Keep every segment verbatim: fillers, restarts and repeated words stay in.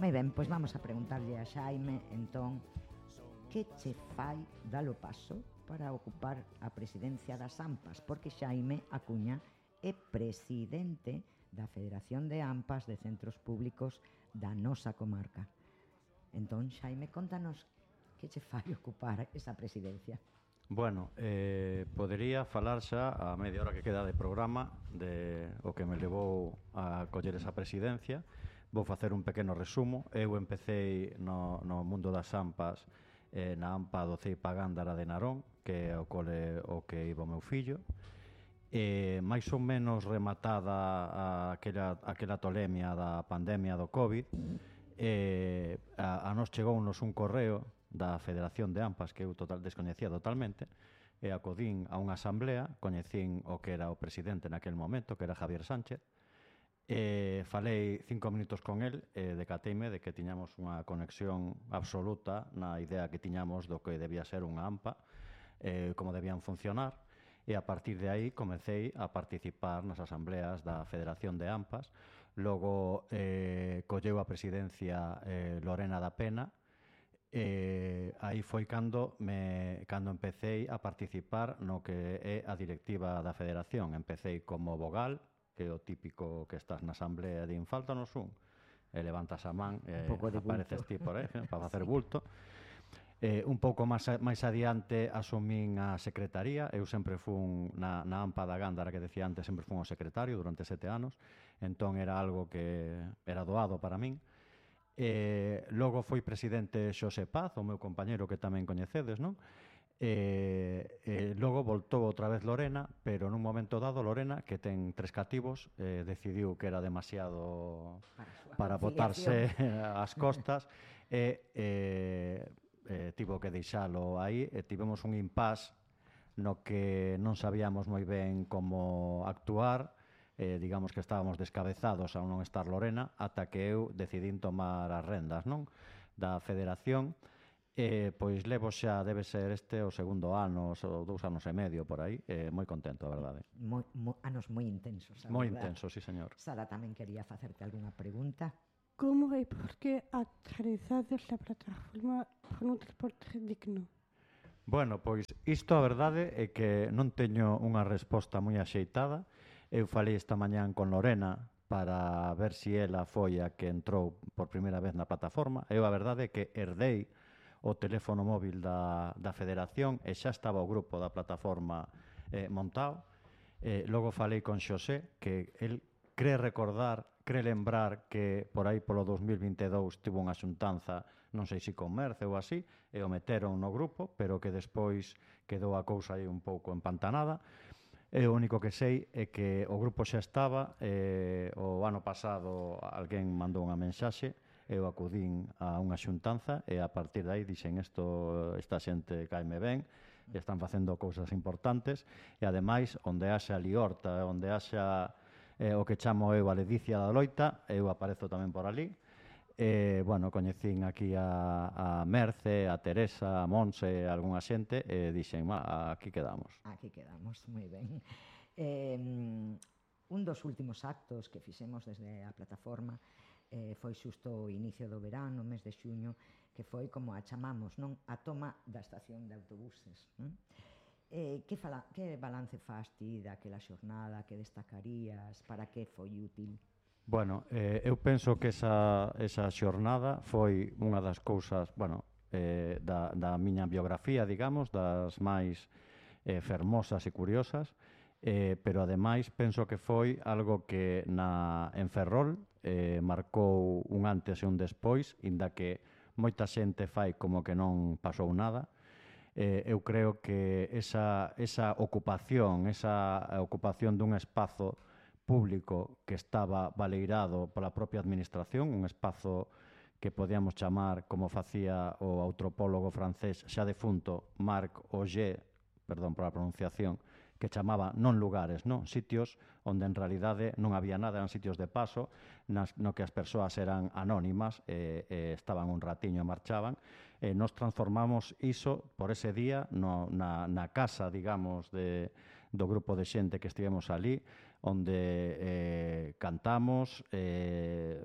Moi ben, pois vamos a preguntarlle a Xaime, entón, que che fai dalo paso para ocupar a presidencia das AMPAs? Porque Xaime Acuña é presidente da Federación de AMPAs de Centros Públicos da nosa comarca. Entón, Xaime, contanos que che fai ocupar esa presidencia. Bueno, eh, podería falar xa a media hora que queda de programa de o que me levou a coller esa presidencia. Vou facer un pequeno resumo. Eu empecéi no, no mundo das AMPAs eh, na AMPA do Ceipa Gándara de Narón, que é o cole o que iba o meu fillo. Eh, máis ou menos rematada aquela, aquela tolemia da pandemia do COVID, eh, a, a nos chegounos un correo da Federación de AMPAs que eu total, descoñecía totalmente, e acudín a unha asamblea, coñecín o que era o presidente naquel momento, que era Javier Sánchez, e falei cinco minutos con el e decateime de que tiñamos unha conexión absoluta na idea que tiñamos do que debía ser unha AMPA, eh, como debían funcionar, e a partir de aí comecei a participar nas asambleas da Federación de AMPAs. Logo eh, colleu a presidencia eh, Lorena da Pena, e aí foi cando me cando empecéi a participar no que é a directiva da Federación. Empecéi como vogal, que é o típico que estás na asamblea e din, faltanos un, e levantas a man e apareces ti por aí para facer bulto. Eh, un pouco máis, máis adiante asumín a secretaría. Eu sempre fun na, na AMPA da Gándara, que decía antes, sempre fun o secretario durante sete anos, entón era algo que era doado para min. Eh, logo foi presidente Xosé Paz, o meu compañeiro que tamén coñecedes, non? E, e logo voltou outra vez Lorena, pero nun momento dado Lorena, que ten tres cativos, eh, decidiu que era demasiado para, para botarse ás costas e eh, eh, tivo que deixalo aí e tivemos un impasse no que non sabíamos moi ben como actuar. Eh, digamos que estábamos descabezados ao non estar Lorena, ata que eu decidín tomar as rendas, non, da Federación. Eh, pois levo xa, debe ser este o segundo ano, ou dous anos e medio por aí, eh, moi contento, a verdade. Moi, moi, anos moi intensos, a moi verdade. intensos, sí, señor. Sara tamén quería facerte algunha pregunta. Como e por que actualizades a plataforma por un transporte digno? Bueno, pois isto a verdade é que non teño unha resposta moi axeitada. Eu falei esta mañán con Lorena para ver se ela foi a que entrou por primeira vez na plataforma. Eu a verdade é que herdei o teléfono móvil da, da Federación e xa estaba o grupo da plataforma eh, montado. Eh, logo falei con Xosé, que el cree recordar, cree lembrar que por aí polo dos mil vinte e dous tivo unha xuntanza, non sei se con Merce ou así, e o meteron no grupo, pero que despois quedou a cousa aí un pouco empantanada. E o único que sei é que o grupo xa estaba, e o ano pasado alguén mandou unha mensaxe, eu acudín a unha xuntanza e a partir de aí dixen isto, esta xente caime ben, están facendo cousas importantes e ademais onde haxa liorta, onde haxa eh, o que chamo eu a ledicia da loita, eu aparezo tamén por ali. E, bueno, coñecín aquí a, a Merce, a Teresa, a Monse, a algunha xente e dixen, aquí quedamos. Aquí quedamos, moi ben. Eh, un dos últimos actos que fixemos desde a plataforma eh, foi xusto o inicio do verán, no mes de xuño, que foi como a chamamos, non? A toma da estación de autobuses. Non? Eh, que, fala, que balance faz ti daquela xornada, que destacarías, para que foi útil? Bueno, eh, eu penso que esa, esa xornada foi unha das cousas, bueno, eh, da, da miña biografía, digamos, das máis eh, fermosas e curiosas, eh, pero ademais penso que foi algo que na, en Ferrol eh, marcou un antes e un despois, inda que moita xente fai como que non pasou nada. Eh, eu creo que esa, esa ocupación, esa ocupación dun espazo público que estaba baleirado pola propia administración, un espazo que podíamos chamar, como facía o antropólogo francés xa defunto Marc Auger, perdón por a pronunciación, que chamaba non lugares, non sitios onde en realidade non había nada, eran sitios de paso, nas, no que as persoas eran anónimas, e, e estaban un ratiño e marchaban. E nos transformamos iso por ese día no, na, na casa, digamos, de, do grupo de xente que estivemos ali, onde eh, cantamos, eh,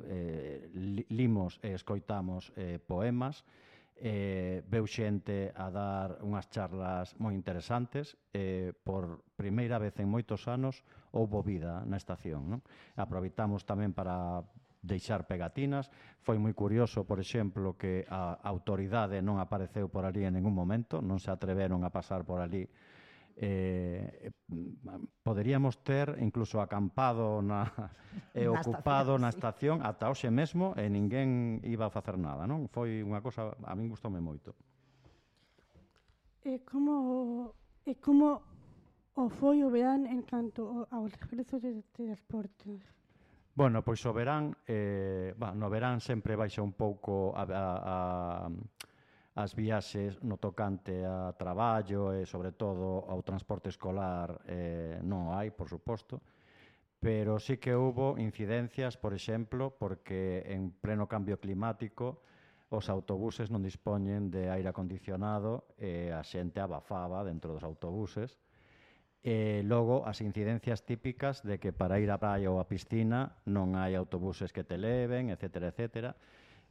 eh, limos e escoitamos eh, poemas, eh, veu xente a dar unhas charlas moi interesantes, eh, por primeira vez en moitos anos houbo vida na estación, non? Aproveitamos tamén para deixar pegatinas. Foi moi curioso, por exemplo, que a autoridade non apareceu por ali en ningún momento, non se atreveron a pasar por ali. Eh, poderíamos ter incluso acampado na, e Na ocupado estación, na sí. estación ata hoxe mesmo e ninguén iba a facer nada, non? Foi unha cosa, a min gustoume moito. E como, e como o foi o verán en canto ao- aos regresos de, de transportes? Bueno, pois o verán, eh, bah, no verán sempre baixa un pouco a, a, a, as viaxes no tocante a traballo e, sobre todo, ao transporte escolar eh, non hai, por suposto, pero sí que houbo incidencias, por exemplo, porque en pleno cambio climático os autobuses non dispoñen de aire acondicionado e a xente abafaba dentro dos autobuses. E logo as incidencias típicas de que para ir á praia ou á piscina non hai autobuses que te leven, etcétera, etcétera.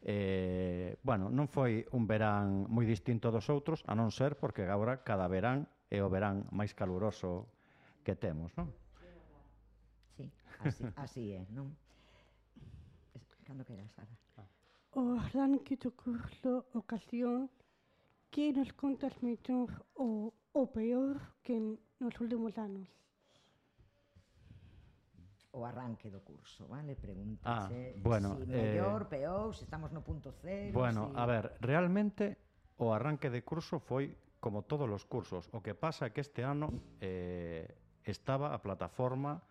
Eh, bueno, non foi un verán moi distinto dos outros, a non ser porque agora cada verán é o verán máis caluroso que temos, non? Sí, así, así é, non? Es- Cando queras, Sara. O arranque do curso ocasión que nos contas mellor o, o peor que nos últimos anos. O arranque do curso, vale? Pregúntase Ah, bueno, si eh, mellor, peor, se estamos no punto cero, Bueno, si... a ver, realmente o arranque de curso foi como todos os cursos. O que pasa é que este ano eh, estaba a plataforma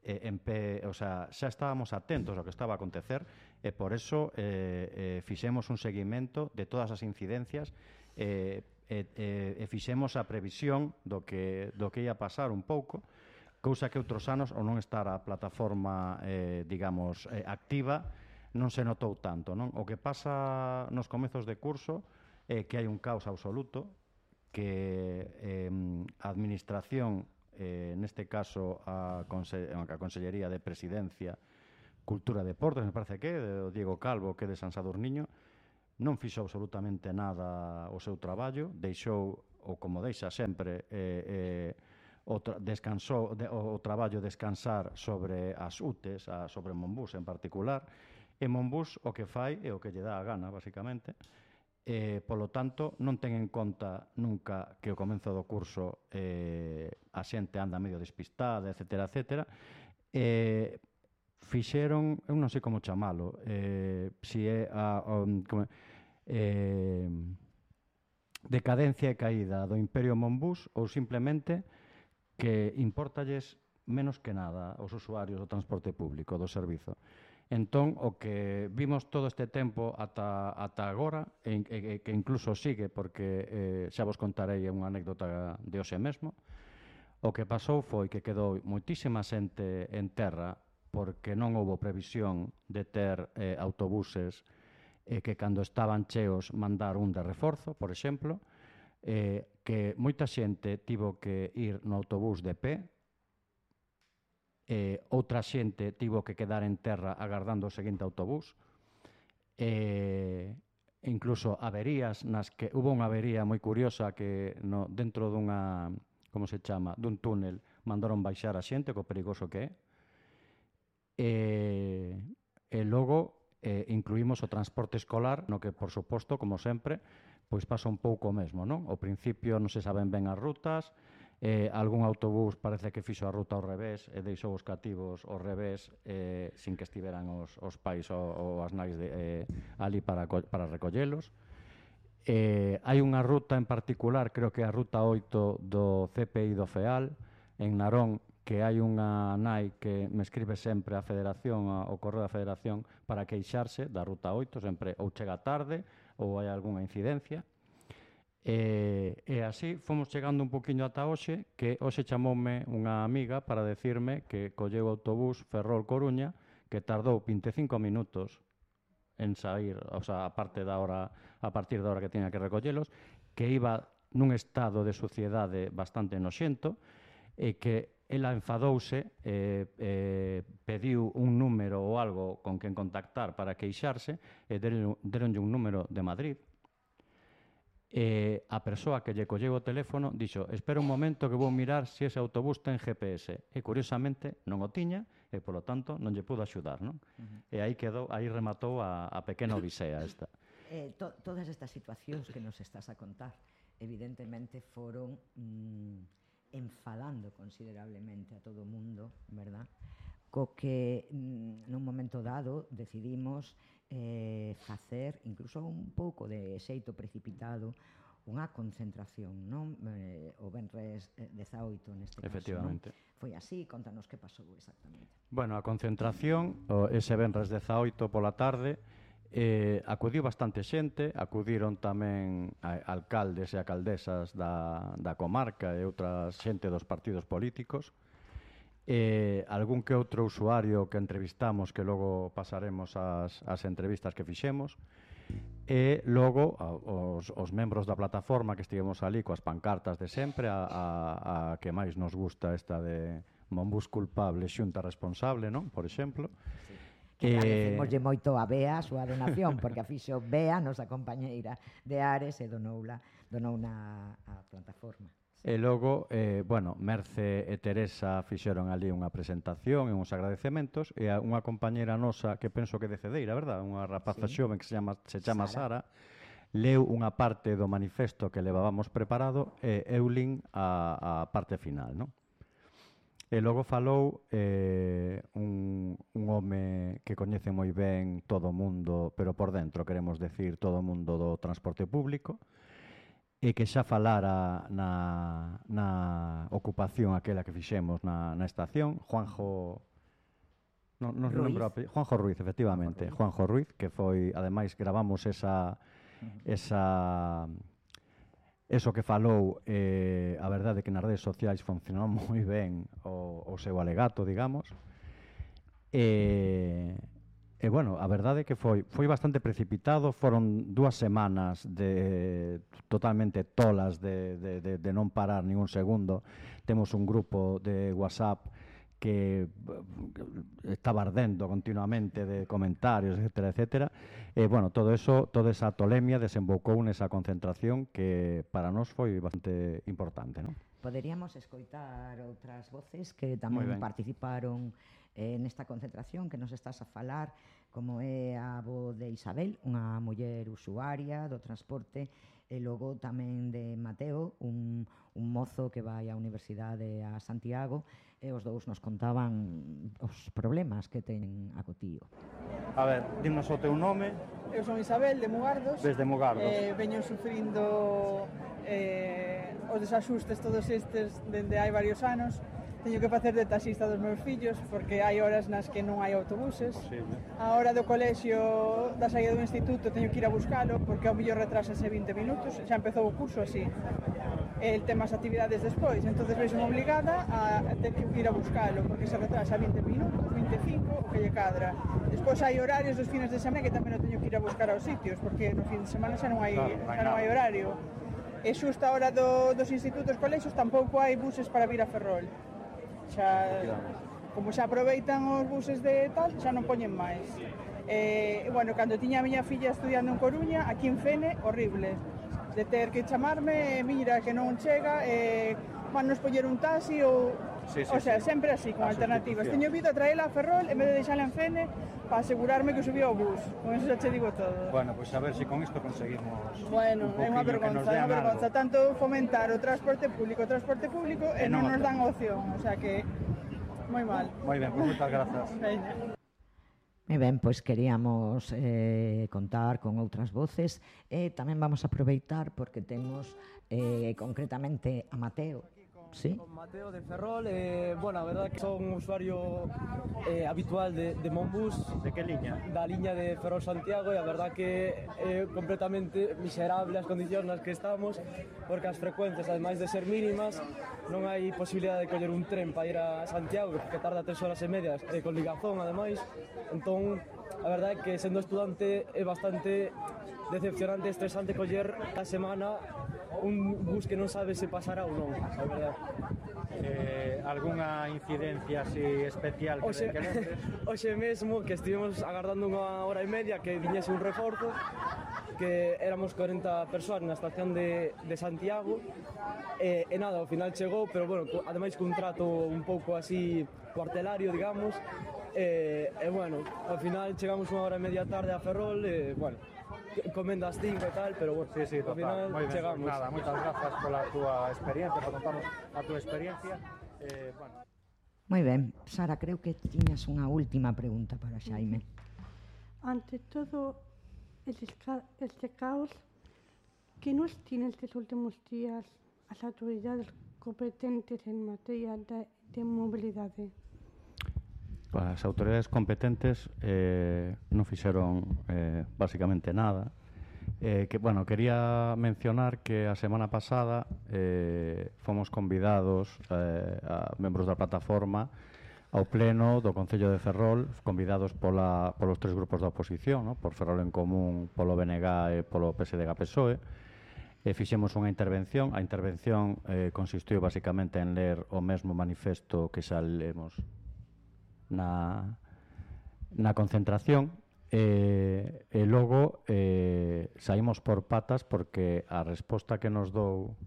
eh, en pe, o sea, xa estábamos atentos ao que estaba a acontecer e por eso eh, eh, fixemos un seguimento de todas as incidencias e eh, eh, eh, fixemos a previsión do que, do que ia pasar un pouco, cousa que outros anos, ao non estar a plataforma, eh, digamos, eh, activa, non se notou tanto, non? O que pasa nos comezos de curso é que hai un caos absoluto, que eh, a administración, eh, neste caso a, Conse a Consellería de Presidencia, Cultura e Deportes, me parece que, o Diego Calvo, que é de San Sadurniño, non fixo absolutamente nada o seu traballo, deixou, ou como deixa sempre, eh, eh, o tra descansou de, o, o traballo descansar sobre as U T Es, a, sobre Monbús en particular, e Monbús o que fai é o que lle dá a gana, basicamente, e, polo tanto, non ten en conta nunca que o comenzo do curso eh, a xente anda medio despistada, etcétera, etcétera, e fixeron, eu non sei como chamalo, eh, si é a, a, como, eh, decadencia e caída do Imperio Monbús ou simplemente que importalles menos que nada aos usuarios do transporte público, do servizo. Entón, o que vimos todo este tempo ata, ata agora, e, e, que incluso sigue, porque eh, xa vos contarei unha anécdota de hoxe mesmo, o que pasou foi que quedou moitísima xente en terra porque non houbo previsión de ter eh, autobuses e eh, que cando estaban cheos mandar un de reforzo, por exemplo, eh, que moita xente tivo que ir no autobús de pé, eh, outra xente tivo que quedar en terra agardando o seguinte autobús, eh, incluso averías nas que hubo unha avería moi curiosa que no, dentro dunha, como se chama, dun túnel mandaron baixar a xente, co perigoso que é, e, e logo eh, incluímos o transporte escolar, no que, por suposto, como sempre, pois pasa un pouco o mesmo, non? Ao principio non se saben ben as rutas, eh, algún autobús parece que fixo a ruta ao revés e deixou os cativos ao revés eh, sin que estiveran os, os pais ou, ou as nais de, eh, ali para, para recollelos. Eh, hai unha ruta en particular, creo que é a ruta oito do C P I do FEAL, en Narón, que hai unha nai que me escribe sempre a Federación, ao correo da Federación, para queixarse da ruta oito, sempre ou chega tarde ou hai algunha incidencia. E, e así fomos chegando un poquinho ata hoxe, que hoxe chamoume unha amiga para decirme que colleu o autobús Ferrol-Coruña, que tardou vinte e cinco minutos en sair, o sea, a parte da hora, a partir da hora que tiña que recollelos, que iba nun estado de suciedade bastante noxento, e que ela enfadouse, eh, eh, pediu un número ou algo con quen contactar para queixarse, e deronlle un número de Madrid. E a persoa que lle colleu o teléfono dixo: espera un momento que vou mirar se ese autobús ten G P S. E curiosamente non o tiña e, polo tanto, non lle pudo axudar, non? Uh-huh. E aí quedou, aí rematou a, a pequena odisea esta. Eh, to, todas estas situacións que nos estás a contar evidentemente foron mm, enfadando considerablemente a todo o mundo, verdad? Co que mm, nun momento dado decidimos eh, facer, incluso un pouco de xeito precipitado, unha concentración, non? Eh, o venres dezaoito neste caso, efectivamente. Non? Foi así, contanos que pasou exactamente. Bueno, a concentración, o, ese venres dezaoito pola tarde, eh, acudiu bastante xente, acudiron tamén a, alcaldes e alcaldesas da, da comarca e outras xente dos partidos políticos, eh, algún que outro usuario que entrevistamos, que logo pasaremos as, as entrevistas que fixemos, e logo a, os, os membros da plataforma que estivemos ali coas pancartas de sempre, a, a, a que máis nos gusta esta de Monbús culpable, xunta responsable, non? Por exemplo. Sí. Que agradecemoslle moito a Bea a súa donación, porque a fixo Bea, nosa compañeira de Ares, e donoula, donouna a plataforma. E logo, eh, bueno, Merce e Teresa fixeron ali unha presentación e uns agradecementos, e a unha compañera nosa que penso que de Cedeira, verdad? Unha rapaza sí. xoven que se chama, se chama Sara, Sara leu unha parte do manifesto que levábamos preparado e eu lin a, a parte final, non? E logo falou eh, un, un home que coñece moi ben todo o mundo, pero por dentro queremos decir todo o mundo do transporte público, e que xa falara na, na ocupación aquela que fixemos na, na estación, Juanjo... Non, non Ruiz. Lembro, Juanjo Ruiz, efectivamente, Juanjo Ruiz, que foi, ademais, gravamos esa... esa eso que falou, eh, a verdade que nas redes sociais funcionou moi ben o, o seu alegato, digamos, e... E, bueno, a verdade é que foi foi bastante precipitado, foron dúas semanas de totalmente tolas de, de, de, de non parar nin un segundo. Temos un grupo de WhatsApp que estaba ardendo continuamente de comentarios, etcétera, etcétera. E, bueno, todo eso, toda esa tolemia desembocou nesa concentración que para nós foi bastante importante, non? Poderíamos escoitar outras voces que tamén participaron eh, nesta concentración que nos estás a falar, como é a voz de Isabel, unha muller usuaria do transporte, e logo tamén de Mateo, un, un mozo que vai á Universidade a Santiago, e os dous nos contaban os problemas que teñen a Cotío. A ver, dimos o teu nome. Eu son Isabel, de Mugardos. Desde Mugardos. Eh, veño sufrindo eh, os desaxustes todos estes dende hai varios anos. Teño que facer de taxista dos meus fillos porque hai horas nas que non hai autobuses. Posible. A hora do colexio da saída do instituto teño que ir a buscalo porque ao mellor retrasase vinte minutos. Xa empezou o curso así. El tema as actividades despois, entonces veixo obligada a ter que ir a buscalo porque se retrasa vinte minutos, vinte e cinco, o que lle cadra. Despois hai horarios dos fines de semana que tamén o teño que ir a buscar aos sitios porque no fin de semana xa non hai, claro, xa non hai horario. E xusto a hora do, dos institutos, colexios, tampouco hai buses para vir a Ferrol. Xa, como xa aproveitan os buses de tal, xa non poñen máis. E, bueno, cando tiña a miña filla estudiando en Coruña, aquí en Fene, horrible. De ter que chamarme, mira, que non chega, e van nos poñer un taxi ou... Sí, sí, o sea, sí. sempre así, con a alternativas. Teño vido a traela a Ferrol en vez de deixala en Fene para asegurarme que subía ao bus. Con eso xa che digo todo. Bueno, pois pues a ver se si con isto conseguimos bueno, un é unha vergonza, é unha vergonza. algo. Tanto fomentar o transporte público, o transporte público, e, e non, non nos dan opción. O sea que, moi mal. Moi ben, pois pues moitas grazas. Veña. Moi ben, pois queríamos eh, contar con outras voces e tamén vamos a aproveitar porque temos eh, concretamente a Mateo. Sí. Con Mateo de Ferrol, eh, bueno, a verdad que son un usuario eh, habitual de, de Monbús. De que liña? Da liña de Ferrol-Santiago, e a verdad que é completamente miserable as condicións nas que estamos, porque as frecuencias, ademais de ser mínimas, non hai posibilidade de coller un tren para ir a Santiago, que tarda tres horas e medias, eh, con ligazón, ademais. Entón, a verdade é que sendo estudante é bastante decepcionante e estresante coller a semana un bus que non sabe se pasará ou non, a verdade. Eh, algunha incidencia así especial que, Oxe, que lembres? oxe mesmo que estivemos agardando unha hora e media que viñese un reforzo, que éramos corenta persoas na estación de, de Santiago, e, e nada, ao final chegou, pero bueno, co- ademais cun trato un pouco así cuartelario, digamos, e, e bueno, ao final chegamos unha hora e media tarde a Ferrol, e bueno, comendo as cinco e tal, pero bueno, Sí, sí, ao total. final Moi ben, chegamos. nada, moitas grazas pola túa experiencia, por contarnos a túa experiencia. Eh, bueno. Moi ben, Sara, creo que tiñas unha última pregunta para Xaime. Ante todo este, ca- este caos, ¿qué nos tienen estos últimos días las autoridades competentes en materia de, de movilidad? As autoridades competentes eh, non fixeron eh, basicamente nada. Eh, que, bueno, quería mencionar que a semana pasada eh, fomos convidados eh, a membros da plataforma ao pleno do Concello de Ferrol, convidados pola, polos tres grupos da oposición, no? Por Ferrol en Común, polo B N G e polo P S D G P S O E. E fixemos unha intervención. A intervención eh, consistiu basicamente en ler o mesmo manifesto que xa lemos na, na concentración, e, e logo eh, saímos por patas porque a resposta que nos dou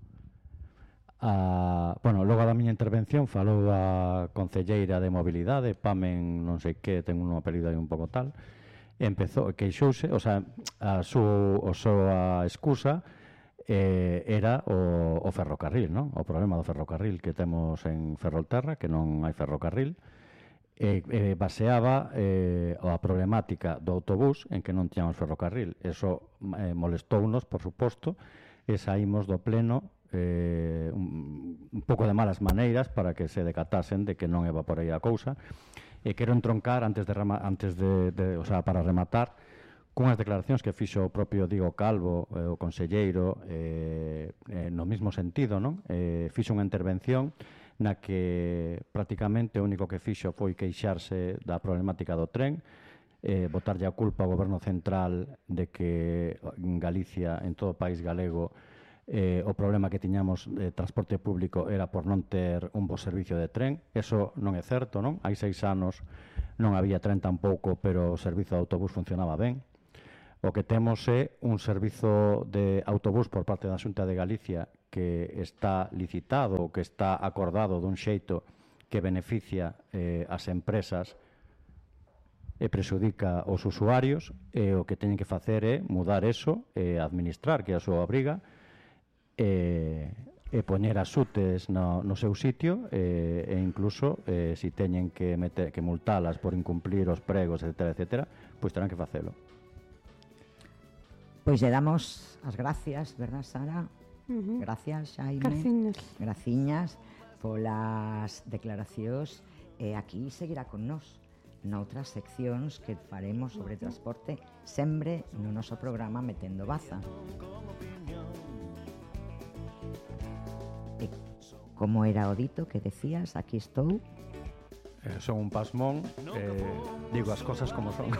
a, bueno, logo da miña intervención falou a concelleira de mobilidade, Pamen non sei que, ten un apelido aí un pouco tal, e empezou, queixouse, o sea, a súa, o súa excusa eh, era o, o ferrocarril, non? O problema do ferrocarril que temos en Ferrolterra, que non hai ferrocarril, e eh, baseaba eh, a problemática do autobús en que non tiñamos ferrocarril. Eso eh, molestounos, por suposto, e saímos do pleno eh, un, un pouco de malas maneiras para que se decatasen de que non eva por aí a cousa. E quero entroncar antes de, rema, antes de, de o sea, para rematar cunhas declaracións que fixo o propio Diego Calvo, eh, o conselleiro, eh, eh, no mesmo sentido, non? Eh, fixo unha intervención na que prácticamente o único que fixo foi queixarse da problemática do tren, eh, botarlle a culpa ao goberno central de que en Galicia, en todo o país galego, eh, o problema que tiñamos de transporte público era por non ter un bo servicio de tren. Eso non é certo, non? Hai seis anos non había tren tampouco, pero o servizo de autobús funcionaba ben. O que temos é un servizo de autobús por parte da Xunta de Galicia que está licitado, que está acordado dun xeito que beneficia eh, as empresas e prexudica os usuarios, e o que teñen que facer é mudar eso e administrar, que é a súa obriga, e, e poñer as UTEs no, no seu sitio, e, e incluso eh, si teñen que, meter, que multalas por incumplir os pregos, etcétera, etcétera, pois terán que facelo. Pois lle damos as gracias, verdad, Sara? Uh-huh. Gracias, Xaime. Graciñas. Graciñas polas declaracións, e aquí seguirá con nós noutras seccións que faremos sobre transporte, sempre no noso programa Metendo Baza. E como era o dito que decías, aquí estou. Eh, son un pasmón, eh, digo as cosas como son.